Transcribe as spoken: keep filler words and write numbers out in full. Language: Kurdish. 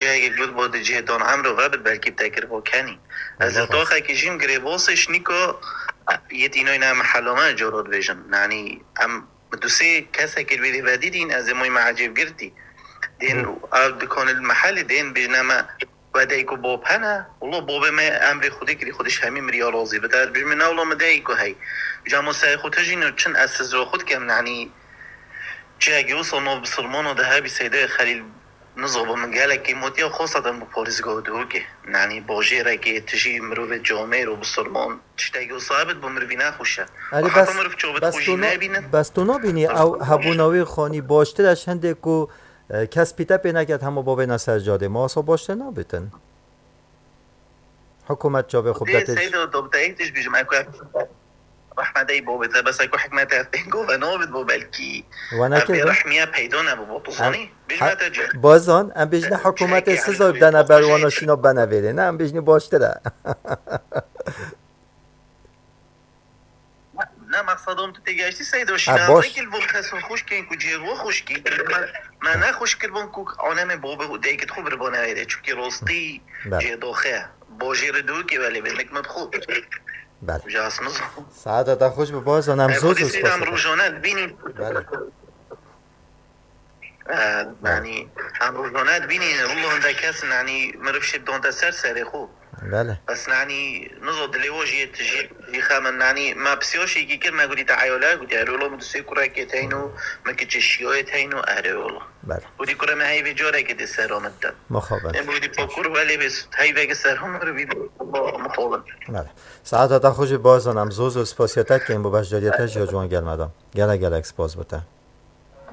cihekî got bo di cihê dan emro vebit belkî bi te kir bo kenî. Ez li taxekî jîm girê bosê şnîko yêt înoyna em helame coro dibêjin. Nanî em bi du sê kesekê li vê vedî dîn ez ê moy me ecêb girtî. Dên ev dikanê li mehelê dên bêjne me wedeyko bop hene. Wilo bobê me emrê Xwedê kirî, Xwedê ji hemî miriya razî bite. Ez bêjim ne wilo min deyko hey. Camo serê xwe tijîn çin ez sizra xwe dikem nanî. Cihekî wisa nav bisilmana de hebî Seydê Xelîl nizobo min gelekî motiya xosatan bi polîsgo dihûkê. Nanî bojêrekê tijî mirovê camêr û bisilman tiştekî wisa bit bo mirivî nexweş e. Erê Heta bes, miriv ço bit bes xwe jî tu na-, nebînin. Bes tu nabînî ew hebûna wî xanî baştir e ji hindê ku, e, kes pîte pê neket hemû bavêna ser cadê. Ma wisa baştir nabitin. Hikûmet çavê xwe Dê bide pêş. Seyda, do bi te yek tişt bêjim, eko rehmedey bo bit, bes eko hikmete ev pêngo ve nobit bo belkî. Wana Ev kê bê be? Rehmiye peydo nebû bo, tu Em, zanî? Bêjme ha, te cî. Bazan, em bêjine hikûmetê Çekê siza Elî bidene Bey, ber wana Bey. Şîna bene vêrê. Ne, em bêjinî baştir e. Ne, mexsedom tu têgeştî Seydo, Ha, şîna baş. Vekî li bo kesên xwişkên ku cihê xwe xwişkî. Me, me ne xwişk kiribûn ku anemê bo bi deyket xwe biribûn êrê. Çunkî rostî Bele. Cihê doxe. Bojê re dûkê welê bê, mek me bi xwe. Bele. Jas min zan. Saeta te xweş bi bazan, em Em zor zor Xwedê spas em dikin. Rojane dibînin. Bele. Ee, Yanî em rojane dibînî, wilo hinde kes, yanî miriv şêt donde ser serê xwe. Bele. Bes, yanî nizo dilê wo jî yê tijî, jî xemin, yanî me pisiya şêkî kir, me gotî te eyale, gotî erê wilo min du sê kurekê teyno, min kiçê şiyayê teyno, erê wilo. Bele. Gotî kure me heyvê carekê dê sera min de. Mixabin. Em gotî pakur welê bê, heyveke sera min rivî mixabin. Bele. Saeta te xweş bi bazan, em zor zor spasiya te dikin bo beşdariya te jî ya ciwan gelme de. Gelek gelek spas bi te.